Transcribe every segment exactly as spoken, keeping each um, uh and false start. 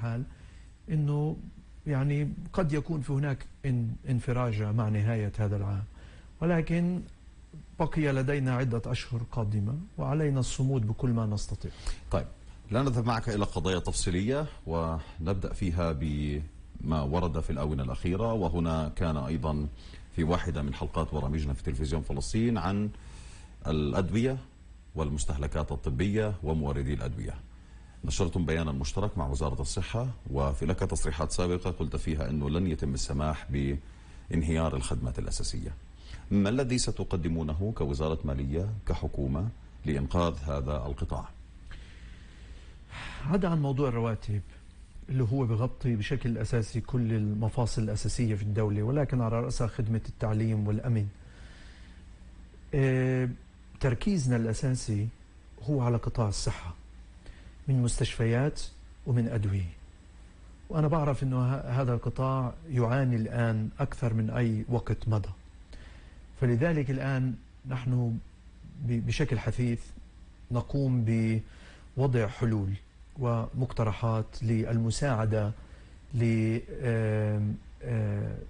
الحال أنه يعني قد يكون في هناك انفراجة مع نهاية هذا العام، ولكن بقي لدينا عدة أشهر قادمة وعلينا الصمود بكل ما نستطيع. طيب، لا نذهب معك إلى قضايا تفصيلية ونبدأ فيها بما ورد في الآونة الأخيرة، وهنا كان أيضا في واحدة من حلقات برامجنا في تلفزيون فلسطين عن الأدوية والمستهلكات الطبية وموردي الأدوية. نشرتم بيانا مشترك مع وزارة الصحة، وفي لك تصريحات سابقة قلت فيها أنه لن يتم السماح بانهيار الخدمات الأساسية. ما الذي ستقدمونه كوزارة مالية كحكومة لإنقاذ هذا القطاع؟ هذا عن موضوع الرواتب اللي هو بغطي بشكل أساسي كل المفاصل الأساسية في الدولة، ولكن على رأسها خدمة التعليم والأمن. اه تركيزنا الأساسي هو على قطاع الصحة، من مستشفيات ومن أدوية، وأنا بعرف أنه هذا القطاع يعاني الآن أكثر من أي وقت مضى. فلذلك الآن نحن بشكل حثيث نقوم بوضع حلول ومقترحات للمساعدة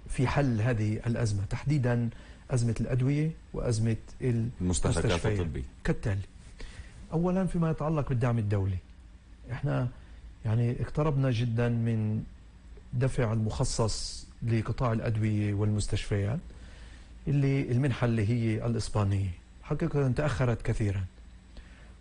في حل هذه الأزمة، تحديدا أزمة الأدوية وأزمة المستهلكات الطبية كالتالي. أولا فيما يتعلق بالدعم الدولي، احنا يعني اقتربنا جدا من دفع المخصص لقطاع الأدوية والمستشفيات، اللي المنحة اللي هي الإسبانية حقيقة تأخرت كثيرا،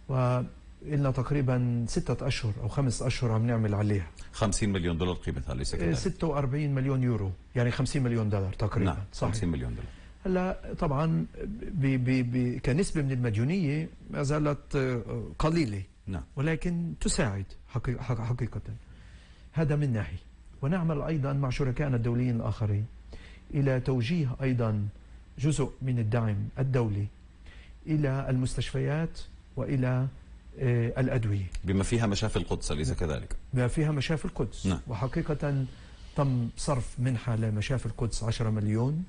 وإلنا تقريبا ستة أشهر أو خمس أشهر عم نعمل عليها. خمسين مليون دولار قيمتها، ليس كذلك؟ ستة وأربعين مليون يورو، يعني خمسين مليون دولار تقريبا. نعم، صحيح. خمسين مليون دولار. هلا طبعا بي بي بي كنسبة من المديونية ما زالت قليلة، نعم، ولكن تساعد حقيقة, حقيقة. هذا من ناحية. ونعمل أيضا مع شركائنا الدوليين الآخرين إلى توجيه أيضا جزء من الدعم الدولي إلى المستشفيات وإلى آه الأدوية، بما فيها مشافي القدس، أليس كذلك؟ بما فيها مشافي القدس. نعم. وحقيقة تم صرف منحة لمشافي القدس عشرة مليون،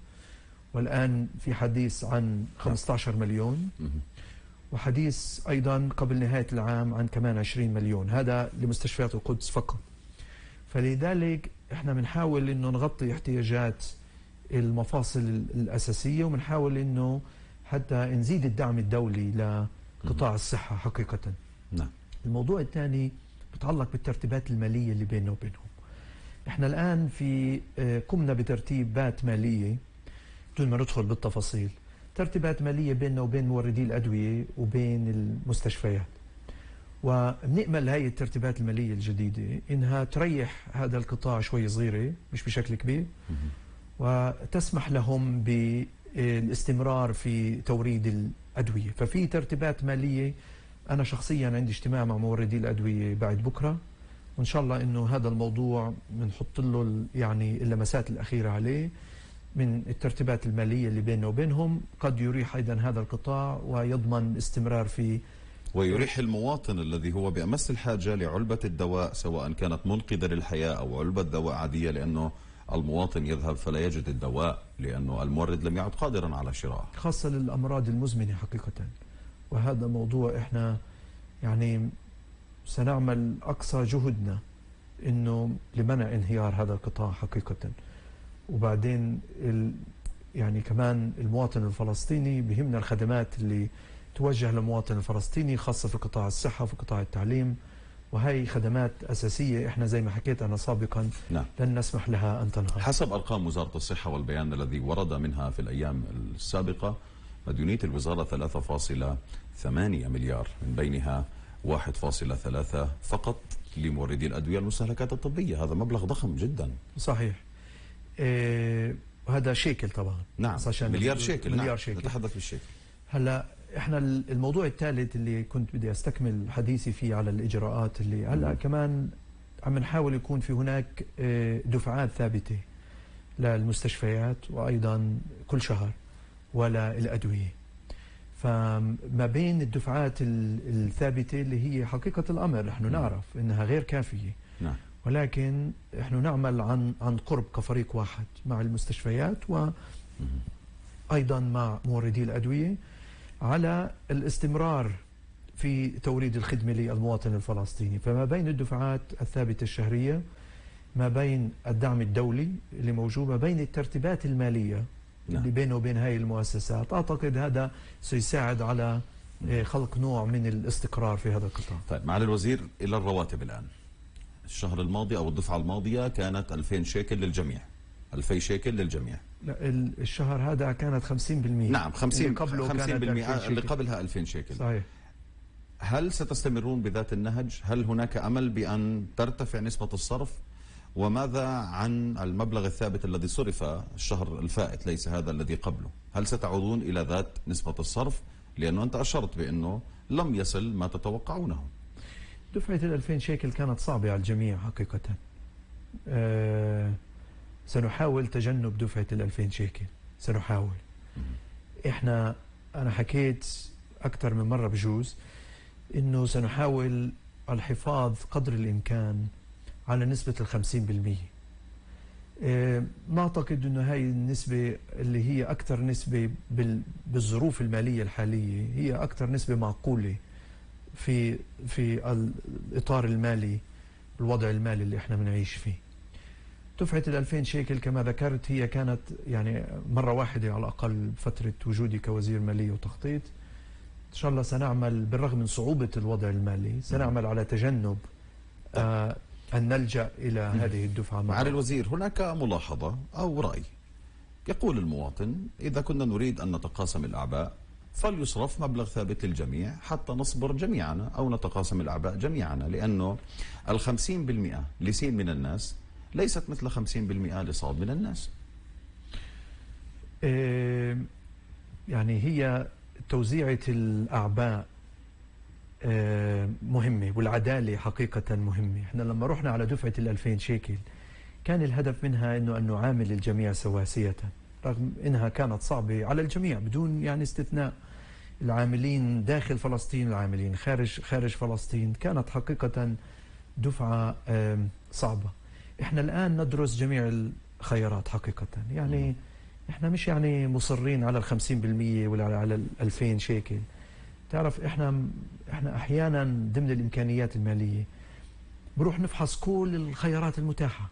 والآن في حديث عن خمسة عشر مليون، وحديث أيضا قبل نهاية العام عن كمان عشرين مليون، هذا لمستشفيات القدس فقط. فلذلك احنا بنحاول انه نغطي احتياجات المفاصل الأساسية، وبنحاول انه حتى نزيد الدعم الدولي لقطاع الصحة حقيقة. نعم. الموضوع الثاني بتعلق بالترتيبات المالية اللي بيننا وبينهم. احنا الآن في قمنا بترتيبات مالية بدون ما ندخل بالتفاصيل، ترتيبات مالية بيننا وبين موردي الأدوية وبين المستشفيات، وبنأمل هاي الترتيبات المالية الجديدة إنها تريح هذا القطاع شوي صغيرة مش بشكل كبير، وتسمح لهم بالاستمرار في توريد الأدوية. ففي ترتيبات مالية، أنا شخصيا عندي اجتماع مع موردي الأدوية بعد بكرة، وإن شاء الله إنه هذا الموضوع بنحط له يعني اللمسات الأخيرة عليه من الترتيبات المالية اللي بيننا وبينهم، قد يريح أيضا هذا القطاع ويضمن استمرار في، ويريح المواطن الذي هو بأمس الحاجة لعلبة الدواء، سواء كانت منقذة للحياة أو علبة دواء عادية، لأنه المواطن يذهب فلا يجد الدواء لأنه المورد لم يعد قادرا على شرائه، خاصة للأمراض المزمنة حقيقة. وهذا موضوع احنا يعني سنعمل أقصى جهدنا إنه لمنع انهيار هذا القطاع حقيقة. وبعدين ال يعني كمان المواطن الفلسطيني بهمنا الخدمات اللي توجه للمواطن الفلسطيني، خاصة في قطاع الصحة وفي قطاع التعليم، وهي خدمات أساسية احنا زي ما حكيت أنا سابقا. نعم. لن نسمح لها أن تنهار. حسب أرقام وزارة الصحة والبيان الذي ورد منها في الأيام السابقة، مديونية الوزارة ثلاثة فاصلة ثمانية مليار، من بينها واحد فاصلة ثلاثة فقط لموردي الأدوية والمستهلكات الطبية. هذا مبلغ ضخم جدا. صحيح. إيه هذا شيكل طبعا. نعم، مليار شيكل. مليار نعم. شيكل. نتحدث بالشيكل. هلا احنا الموضوع الثالث اللي كنت بدي استكمل حديثي فيه على الإجراءات اللي هلا كمان عم نحاول يكون في هناك دفعات ثابتة للمستشفيات، وأيضا كل شهر ولا الأدوية. فما بين الدفعات الثابتة اللي هي حقيقة الأمر نحن نعرف إنها غير كافية. نعم. ولكن نحن نعمل عن عن قرب كفريق واحد مع المستشفيات وأيضا مع موردي الأدوية على الاستمرار في توريد الخدمة للمواطن الفلسطيني. فما بين الدفعات الثابتة الشهرية، ما بين الدعم الدولي اللي موجود، ما بين الترتيبات المالية نعم. اللي بينه وبين هاي المؤسسات، أعتقد هذا سيساعد على خلق نوع من الاستقرار في هذا القطاع. طيب معالي الوزير، إلى الرواتب الآن. الشهر الماضي أو الدفعة الماضية كانت ألفين شيكل للجميع، ألفين شيكل للجميع. لا، الشهر هذا كانت خمسين بالمئة. نعم، خمسين اللي قبله خمسين بالمئة كانت اللي قبلها ألفين شيكل. صحيح. هل ستستمرون بذات النهج؟ هل هناك أمل بأن ترتفع نسبة الصرف؟ وماذا عن المبلغ الثابت الذي صرف الشهر الفائت، ليس هذا الذي قبله؟ هل ستعودون إلى ذات نسبة الصرف؟ لأنه أنت أشرت بأنه لم يصل ما تتوقعونه. دفعة الألفين شيكل كانت صعبة على الجميع حقيقة. أه سنحاول تجنب دفعة الألفين شيكل، سنحاول. إحنا أنا حكيت أكثر من مرة بجوز إنه سنحاول الحفاظ قدر الإمكان على نسبة الخمسين بالمئة. أه ما أعتقد إنه هاي النسبة اللي هي أكثر نسبة بالظروف المالية الحالية هي أكثر نسبة معقولة في في الإطار المالي، الوضع المالي اللي احنا بنعيش فيه. دفعة الألفين شيكل كما ذكرت هي كانت يعني مرة واحدة على الأقل بفترة وجودي كوزير مالية وتخطيط. إن شاء الله سنعمل بالرغم من صعوبة الوضع المالي، سنعمل على تجنب آه أن نلجأ إلى هذه الدفعة. معالي الوزير، هناك ملاحظة أو رأي يقول المواطن إذا كنا نريد أن نتقاسم الأعباء فليصرف مبلغ ثابت للجميع حتى نصبر جميعنا أو نتقاسم الأعباء جميعنا، لأنه الخمسين بالمئة لسين من الناس ليست مثل خمسين بالمئة لصاد من الناس. إيه يعني هي توزيعة الأعباء إيه مهمة، والعدالة حقيقة مهمة. احنا لما رحنا على دفعة الألفين شيكل كان الهدف منها أنه أن نعامل الجميع سواسية، رغم أنها كانت صعبة على الجميع بدون يعني استثناء. العاملين داخل فلسطين، العاملين خارج خارج فلسطين، كانت حقيقة دفعة صعبة. احنا الآن ندرس جميع الخيارات حقيقة. يعني احنا مش يعني مصرين على الخمسين بالمئة ولا على الألفين شيكل. تعرف احنا احنا احيانا ضمن الامكانيات المالية بروح نفحص كل الخيارات المتاحة.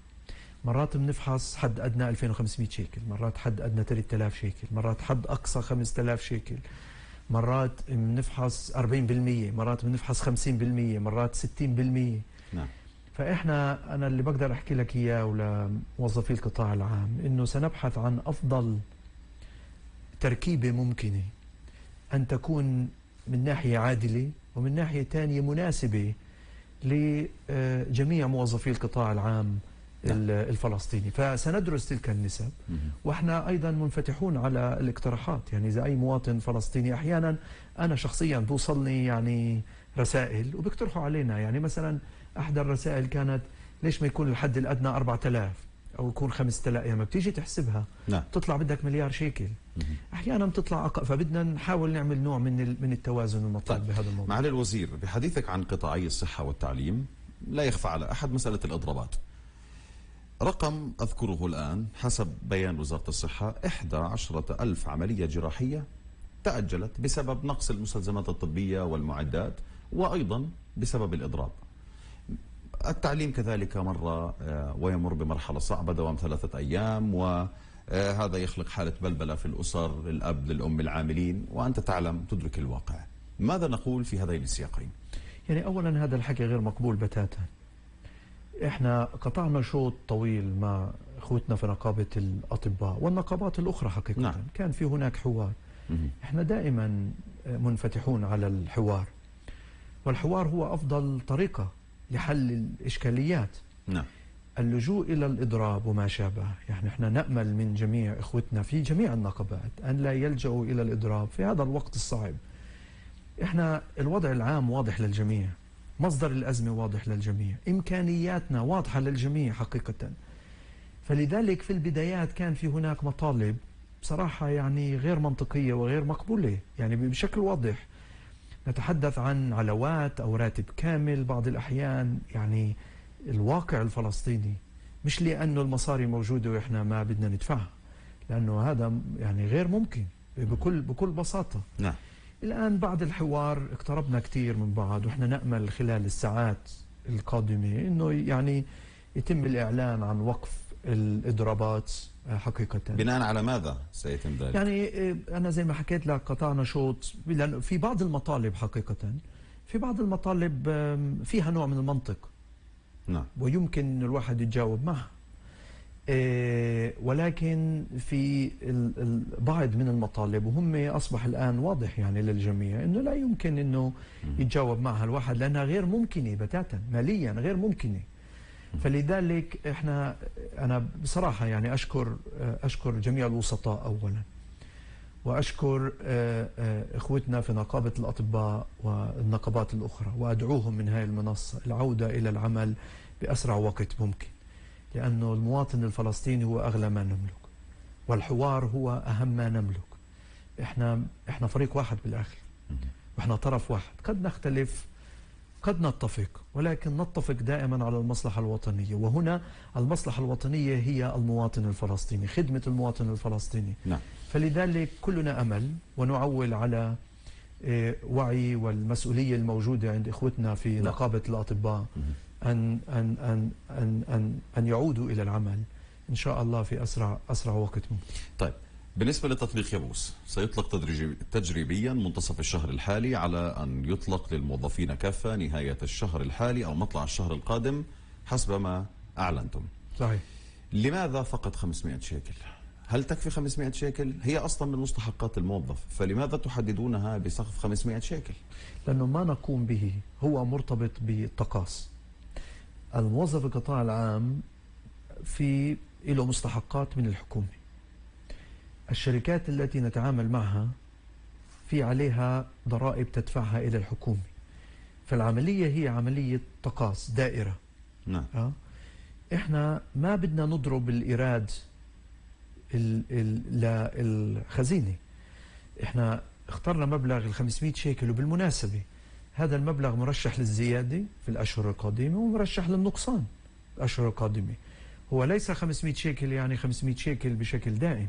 مرات بنفحص حد أدنى ألفين وخمسمئة شيكل، مرات حد أدنى ثلاثة آلاف شيكل، مرات حد أقصى خمسة آلاف شيكل، مرات بنفحص أربعين بالمئة، مرات بنفحص خمسين بالمئة، مرات ستين بالمئة. نعم. فإحنا أنا اللي بقدر أحكي لك إياه ولموظفي القطاع العام إنه سنبحث عن أفضل تركيبة ممكنة أن تكون من ناحية عادلة ومن ناحية ثانية مناسبة لجميع موظفي القطاع العام الفلسطيني. فسندرس تلك النسب، واحنا ايضا منفتحون على الاقتراحات. يعني اذا اي مواطن فلسطيني، احيانا انا شخصيا بوصلني يعني رسائل وبيقترحوا علينا، يعني مثلا احدى الرسائل كانت ليش ما يكون الحد الادنى أربعة آلاف او يكون خمسة آلاف، يعني ما بتيجي تحسبها نعم. تطلع بدك مليار شيكل. احيانا بتطلع أقل، فبدنا نحاول نعمل نوع من من التوازن المطلوب طيب. بهذا الموضوع. معالي الوزير، بحديثك عن قطاعي الصحة والتعليم لا يخفى على احد مسألة الإضرابات. رقم أذكره الآن حسب بيان وزارة الصحة إحدى عشرة ألف عملية جراحية تأجلت بسبب نقص المستلزمات الطبية والمعدات، وأيضا بسبب الإضراب. التعليم كذلك مر ويمر بمرحلة صعبة دوام ثلاثة أيام، وهذا يخلق حالة بلبلة في الأسر، الأب للأم العاملين، وأنت تعلم تدرك الواقع. ماذا نقول في هذين السياقين؟ يعني أولا هذا الحكي غير مقبول بتاتا. احنا قطعنا شوط طويل مع اخوتنا في نقابة الأطباء والنقابات الأخرى حقيقة. نعم. كان في هناك حوار. احنا دائما منفتحون على الحوار، والحوار هو أفضل طريقة لحل الإشكاليات. نعم. اللجوء إلى الإضراب وما شابه، يعني احنا نأمل من جميع اخوتنا في جميع النقابات أن لا يلجأوا إلى الإضراب في هذا الوقت الصعب. احنا الوضع العام واضح للجميع، مصدر الأزمة واضح للجميع، إمكانياتنا واضحة للجميع حقيقة. فلذلك في البدايات كان في هناك مطالب بصراحة يعني غير منطقية وغير مقبولة، يعني بشكل واضح. نتحدث عن علاوات أو راتب كامل بعض الأحيان. يعني الواقع الفلسطيني مش لأنه المصاري موجودة وإحنا ما بدنا ندفعها، لأنه هذا يعني غير ممكن بكل بكل بساطة. نعم. الآن بعد الحوار اقتربنا كثير من بعض، وإحنا نأمل خلال الساعات القادمة إنه يعني يتم الإعلان عن وقف الإضرابات حقيقة. بناء على ماذا سيتم ذلك؟ يعني أنا زي ما حكيت لك قطعنا شوط، لأن في بعض المطالب حقيقة، في بعض المطالب فيها نوع من المنطق. نعم. ويمكن الواحد يتجاوب معها. ولكن في البعض من المطالب وهم أصبح الآن واضح يعني للجميع أنه لا يمكن أنه يتجاوب معها الواحد، لأنها غير ممكنة بتاتا، ماليا غير ممكنة. فلذلك احنا أنا بصراحة يعني أشكر أشكر جميع الوسطاء أولا، وأشكر إخوتنا في نقابة الأطباء والنقابات الأخرى، وأدعوهم من هذه المنصة العودة إلى العمل بأسرع وقت ممكن، لأنه المواطن الفلسطيني هو أغلى ما نملك، والحوار هو أهم ما نملك. إحنا إحنا فريق واحد بالآخر، وإحنا طرف واحد، قد نختلف قد نتفق، ولكن نتفق دائما على المصلحة الوطنية، وهنا المصلحة الوطنية هي المواطن الفلسطيني، خدمة المواطن الفلسطيني. نعم. فلذلك كلنا أمل ونعول على وعي والمسؤولية الموجودة عند إخوتنا في نعم. نقابة الأطباء أن أن أن أن أن أن يعودوا إلى العمل إن شاء الله في أسرع أسرع وقت ممكن. طيب، بالنسبة لتطبيق يابوس سيطلق تجريبيا منتصف الشهر الحالي، على أن يطلق للموظفين كافة نهاية الشهر الحالي أو مطلع الشهر القادم حسب ما أعلنتم. صحيح. لماذا فقط خمسمائة شيكل؟ هل تكفي خمسمائة شيكل؟ هي أصلا من مستحقات الموظف، فلماذا تحددونها بسقف خمسمائة شيكل؟ لأنه ما نقوم به هو مرتبط بالتقاص. الموظف القطاع العام في له مستحقات من الحكومة. الشركات التي نتعامل معها في عليها ضرائب تدفعها إلى الحكومة. فالعملية هي عملية تقاص دائرة. نعم. أه؟ إحنا ما بدنا نضرب الإيراد للخزينة. إحنا اخترنا مبلغ ال خمسمائة شيكل، وبالمناسبة هذا المبلغ مرشح للزيادة في الأشهر القادمة ومرشح للنقصان في الأشهر القادمة. هو ليس خمسمائة شيكل يعني خمسمائة شيكل بشكل دائم.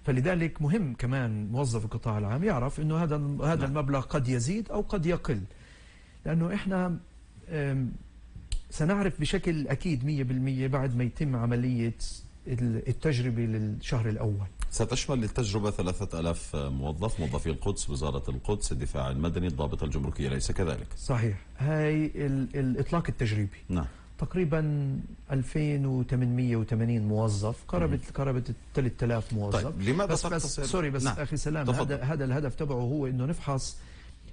فلذلك مهم كمان موظف القطاع العام يعرف انه هذا هذا المبلغ قد يزيد او قد يقل، لانه احنا سنعرف بشكل اكيد مئة بالمئة بعد ما يتم عملية التجربة للشهر الاول. ستشمل التجربة ثلاثة آلاف موظف، موظفي القدس، وزارة القدس، الدفاع المدني، الضابط الجمركية، أليس كذلك؟ صحيح. هاي الإطلاق التجريبي. نعم. تقريبا ألفين وثمانمائة وثمانين موظف، قربت قربت ثلاثة آلاف موظف. طيب، لماذا بس تقتصر؟ بس سوري بس نعم. اخي سلام، تفضل. هذا هذا الهدف تبعه هو انه نفحص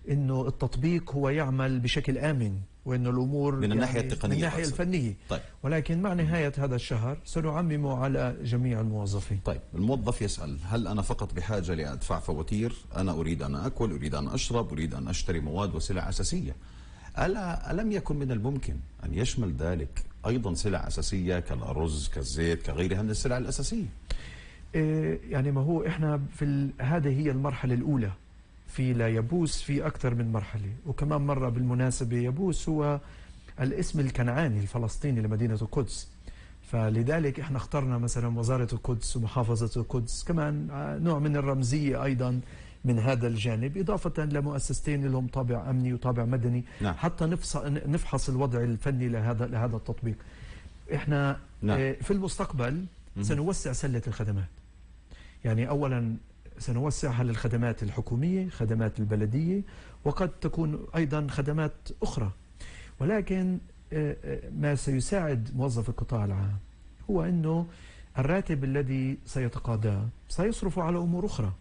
انه التطبيق هو يعمل بشكل امن، وانه الامور من يعني الناحيه التقنيه من الناحيه الفنيه. طيب. ولكن مع نهايه هذا الشهر سنعممه على جميع الموظفين. طيب، الموظف يسال: هل انا فقط بحاجه لادفع فواتير؟ انا اريد ان اكل، اريد ان اشرب، اريد ان اشتري مواد وسلع اساسيه. ألا ألم يكن من الممكن أن يشمل ذلك أيضا سلع أساسية كالأرز، كالزيت، كغيرها من السلع الأساسية؟ إيه يعني ما هو إحنا في ال... هذه هي المرحلة الأولى. في لا يبوس في أكثر من مرحلة، وكمان مرة بالمناسبة يبوس هو الاسم الكنعاني الفلسطيني لمدينة القدس، فلذلك إحنا اخترنا مثلا وزارة القدس ومحافظة القدس، كمان نوع من الرمزية أيضا من هذا الجانب، إضافة لمؤسستين لهم طابع أمني وطابع مدني. نعم. حتى نفحص الوضع الفني لهذا لهذا التطبيق. إحنا نعم. في المستقبل سنوسع سلة الخدمات. يعني أولا سنوسعها للخدمات الحكومية، خدمات البلدية، وقد تكون أيضا خدمات أخرى. ولكن ما سيساعد موظف القطاع العام هو أنه الراتب الذي سيتقاضاه سيصرف على أمور أخرى،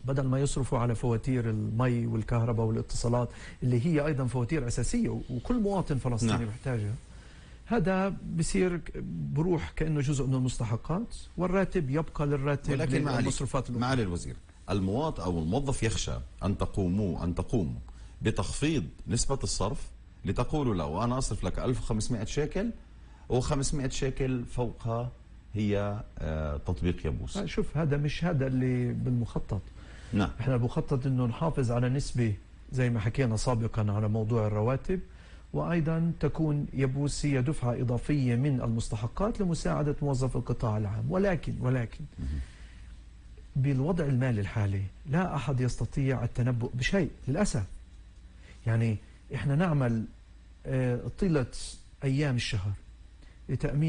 بدل ما يصرفوا على فواتير المي والكهرباء والاتصالات اللي هي أيضا فواتير أساسية وكل مواطن فلسطيني نعم. محتاجها. هذا بصير بروح كأنه جزء من المستحقات، والراتب يبقى للراتب. ولكن للمصروفات معالي الوزير، المواطن أو الموظف يخشى أن تقوموا أن تقوموا بتخفيض نسبة الصرف لتقولوا له أنا أصرف لك ألف وخمسمائة شيكل وخمسمائة شيكل فوقها هي تطبيق يبوس. شوف، هذا مش هذا اللي بالمخطط. نعم. احنا المخطط انه نحافظ على نسبة زي ما حكينا سابقا على موضوع الرواتب، وايضا تكون يبوس هي دفعة اضافية من المستحقات لمساعدة موظف القطاع العام. ولكن ولكن بالوضع المالي الحالي لا أحد يستطيع التنبؤ بشيء للأسف. يعني إحنا نعمل طيلة أيام الشهر لتأمين